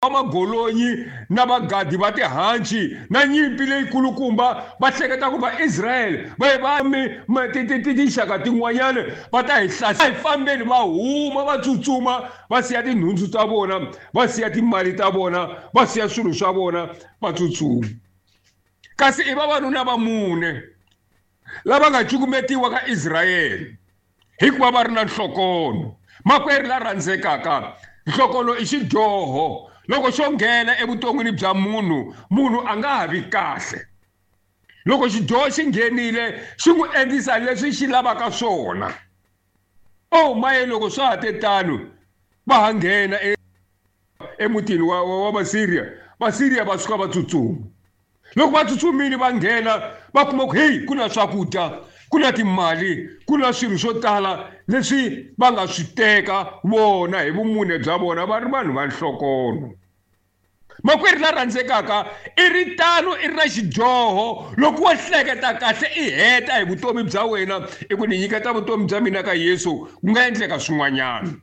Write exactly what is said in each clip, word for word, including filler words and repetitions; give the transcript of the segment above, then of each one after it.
Wa magolonyi na vagadi va tihanci na nyimpi leyikulukumba va hleketa ku Vaisrayele va ye va mi tinxaka tin'wanyana va ta hi hlasela. Hi fambeni va huma va tsutsuma va siya tinhundzu ta vona, va siya timali ta vona, va siya swilo swa vona va tsutsuma. Kasi i vavanuna va mune lava nga cukumetiwa ka Israyele hikuva va ri na nhlokono. Makwerhu la rhandzekaka, nhlokono i xidyoho. Loko xo nghena evuton'wini bya munhu, munhu a nga ha vi kahle. Loko xidyoho xi nghenile xi n'wi endlisa leswi xi lavaka swona. Oh maye, loko swa ha te tano va ha nghena emutini wa wa Vasiriya, Vasiriya va suka va tsutsuma. Loko va tsutsumile va nghena va kuma ku heyi ku na swakudya, ku na timali, ku na swilo swo tala leswi va nga swi teka vona hi vumune bya vona va ri vanhu va nhlokono. Makwerhu la rhandzekaka, i ri tano i ri na xidyoho. Loko wo hleketa kahle i heta hi vutomi bya wena i ku ni nyiketa vutomi bya mina ka Yesu, ku nga endleka swin'wanyana.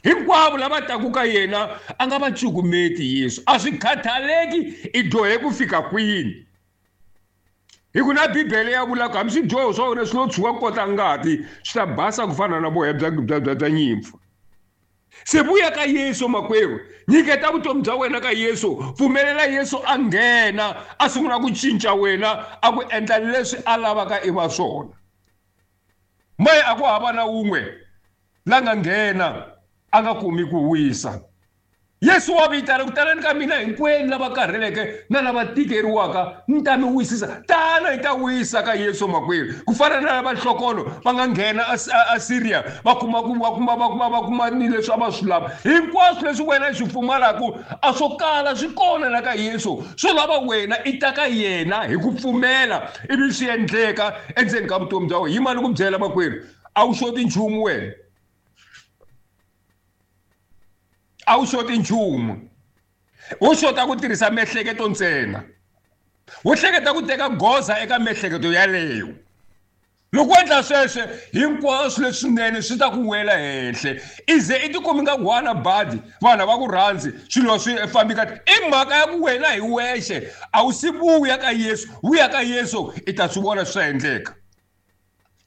Hinkwavo lava taku ka yena a nga va cukumeti Yesu. A swi khathaleki i dyohe ku fika kwini. Hi ku na Bibele ya vula ku hambi swidyoho swa wena swi lo tshuka kota ngati swi ta basa ku fana na voya bya bya bya bya nyimpfu. Se vuya ka Yesu makwerhu, nyiketa vutomi bya wena ka Yesu, pfumelela Yesu a nghena a sungula ku cinca wena, a ku endla leswi a lavaka i va swona. Maye a ku hava na wun'we la nga nghena a nga kumi ku wisa. Yesu wa vitana ku tanani ka mina hinkwenu lava karheleke na lava tikeriwaka, ni ta mi wisisa. Tana hi ta wisa ka Yesu makwerhu. Ku fana na lava nhlokono va nga nghena a Syria va kuma ku va kuma va kuma va kuma ni leswi a va swi lava. Hinkwaswo leswi wena i swi pfumalaku a swo kala swi kona la ka Yesu. Swo lava wena i ta ka yena hi ku pfumela ivi swi endleka endzeni ka vutomi bya wena. Yima ni ku byela makwerhu, a wu xoti nchumu wena. A wu xoti nchumu. Wo xota ku tirhisa miehleketo ntsena. Wo hleketa ku teka goza eka miehleketo yaleyo. Loko u endla sweswo hinkwaswo leswinene swi ta ku wela henhla. I ze i tikumi nga ku wana badi, vanhu a va ku rhandzi, swilo swi fambi kahle. I mhaka ya ku wena hi wexe a wu si vuya ka Yesu. Vuya ka Yesu i ta swi vona swi ta endleka.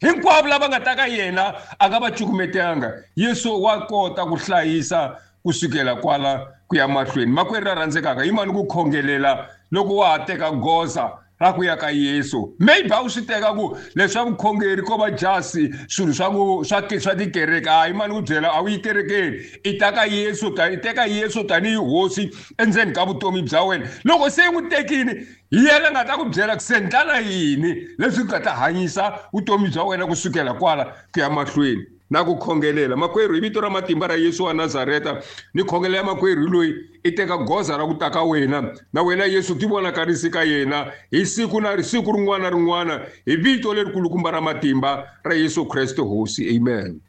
Hinkwavo lava nga ta ka yena a nga va cukumetanga. Yesu wa kota ku hlayisa kusukela kwala ku ya mahlweni. Makwerhu la rhandzekaka, yimani ku khongelela loko wa ha teka goza ra ku ya ka Yesu. Maybe a wu swi teka ku leswa vukhongeri ko va jasi swilo swa ku swa swa tikereke. Hayi, yimani ku byela, a wu yi kerekeni. I ta ka Yesu, i teka Yesu tanihi hosi endzeni ka vutomi bya wena. Loko se i n'wi tekile, hi yena nga ta ku byela ku se ndlala yini leswi nga ta hanyisa vutomi bya wena kusukela kwala ku ya mahlweni. Na ku khongelela makwerhu hi vito ra matimba ra Yesu wa Nazareta, ni khongelela makwerhu loyi i teka goza ra ku ta ka wena na wena Yesu ti vonakarisi ka yena hi siku na siku rin'wana na rin'wana hi vito lerikulukumba ra matimba ra Yesu Kreste Hosi. Amen.